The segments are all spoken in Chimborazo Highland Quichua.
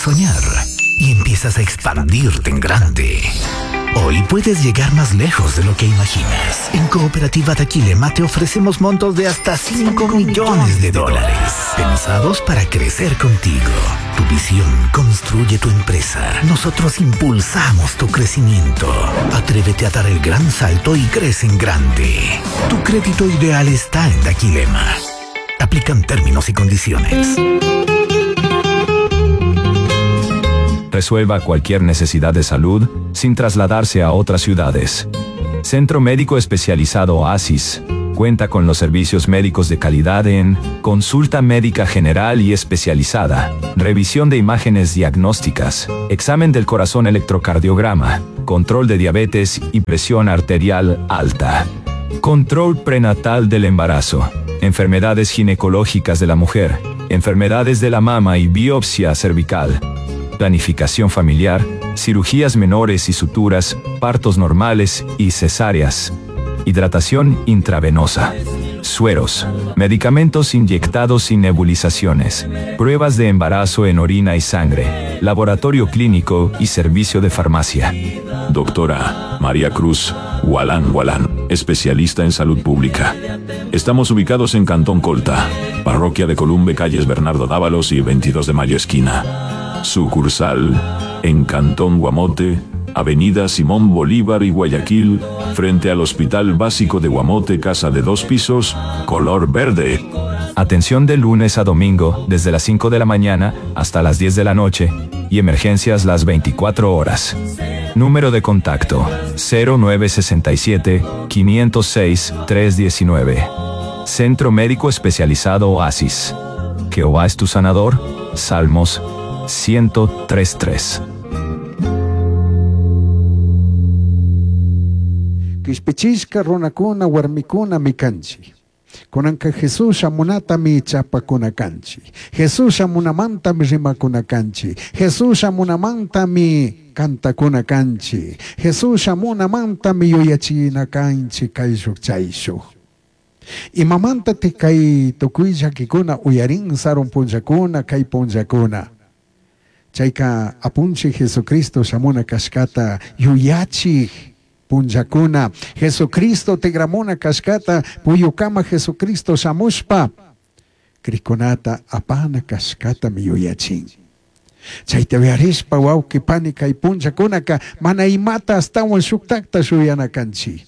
soñar y empiezas a expandirte en grande. Hoy puedes llegar más lejos de lo que imaginas. En Cooperativa Daquilema te ofrecemos montos de hasta 5 millones de dólares, pensados para crecer contigo. Tu visión construye tu empresa. Nosotros impulsamos tu crecimiento. Atrévete a dar el gran salto y crece en grande. Tu crédito ideal está en Daquilema. Aplican términos y condiciones. Resuelva cualquier necesidad de salud sin trasladarse a otras ciudades. Centro Médico Especializado Oasis cuenta con los servicios médicos de calidad en consulta médica general y especializada, revisión de imágenes diagnósticas, examen del corazón electrocardiograma, control de diabetes y presión arterial alta, control prenatal del embarazo, enfermedades ginecológicas de la mujer, enfermedades de la mama y biopsia cervical, planificación familiar, cirugías menores y suturas, partos normales y cesáreas, hidratación intravenosa, sueros, medicamentos inyectados y nebulizaciones, pruebas de embarazo en orina y sangre, laboratorio clínico y servicio de farmacia. Doctora María Cruz Gualán Gualán, especialista en salud pública. Estamos ubicados en Cantón Colta, parroquia de Columbe, calles Bernardo Dávalos y 22 de Mayo esquina. Sucursal en Cantón Guamote, Avenida Simón Bolívar y Guayaquil, frente al Hospital Básico de Guamote, casa de dos pisos, color verde. Atención de lunes a domingo, desde las 5 de la mañana hasta las 10 de la noche, y emergencias las 24 horas. Número de contacto 0967 506 319. Centro Médico Especializado Oasis. Jehová es tu sanador. Salmos 103.3. Quishpichishka runakuna warmikuna kanchik. Kunanka Jesús shamunatami chapakuna kanchik. Jesús shamunamantami rimakuna kanchik. Jesús shamunamantami kantakuna kanchik. Jesús shamunamantami yuyachina kanchik kayshuk chayshuk. Imamanta ti kay tukuy llakikuna uyarin sarun punllakuna kay punllakuna. Chayka apunchik Jesucristo shamuna kashkata yuyachik punllakuna. Jesucristo tigramuna kashkata puyukama Jesucristo shamushpa krikunata apana kashkatami yuyachin. Chayta uyarishpa wawqi pani kay punllakunaka mana imata astawan shuktakta shuyana kanchik.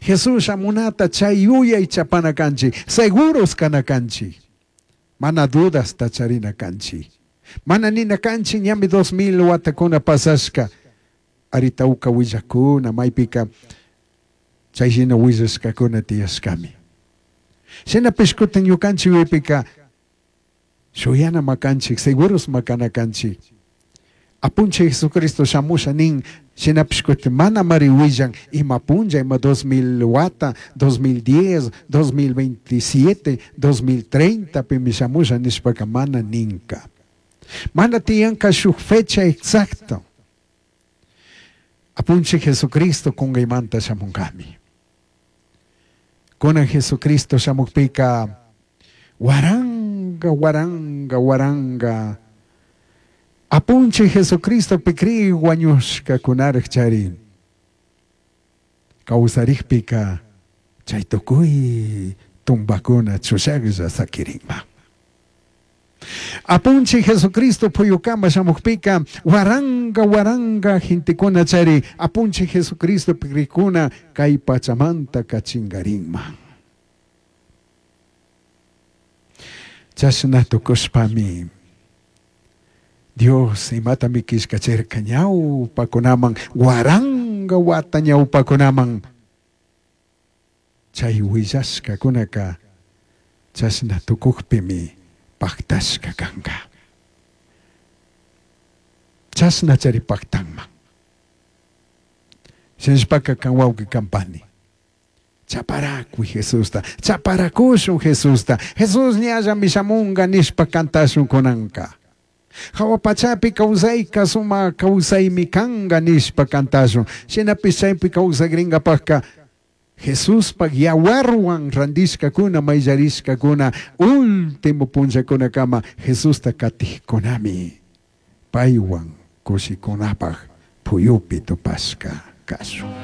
Jesús shamunata chay yuyay chapana kanchik, seguros kana kanchik. Mana dudas charina kanchik. Mana nina kanchik ñami 2000 watakuna pasashka. Aritauka willakuna maypika chay shina willashkakuna tiyashkami. Shinapish kutin ñukanchik yuyaypika shuyana makanchik, seguros makana kanchik. Apunchik Jesucristo shamusha nin, shinapish kutin mana mari willan ima punlla, ima 2000 wata, 2010, 2027, 2030 pimi shamusha nishpaka mana ninka. Mana tiyanka shuk fecha exacta. Apunchik Jesucristo kungaymanta shamunkami. Kunan Jesucristo shamukpika waranga, waranga, waranga. Apunchik Jesucristo pikri wañushka kunaraj charin. Kawsarikpika chay tukuy tumbakuna chushaklla sakirinma. Apunchik Jesucristo puyukama shamukpika waranga, waranga gentekuna chari apunchik Jesucristo pikrikuna kay pachamanta kachingarinma. Chashna tukushpami Dios imatami kishkachirka ñawpakunaman waranga wata ñawpakunaman chay willashkakunaka chashna tukukpimi paktashka kanka. Chashna chari paktanman. Shinashpaka kan wawqi kampani. Chaparakuy Jesusta, chaparakushun Jesusta. Jesús ñallami shamunga nishpa kantashun kunanka. Hawa pachapi kawsayka suma kawsaymi kanka nishpa kantashun. Shinapish chaypi kawsakrinkapakka Jesuspaj yawarwan randishkakuna mayllarishkakuna último punllakunakama Jesusta katijkunami. Paihuan cushicunapaj puyupi tupashca cashun.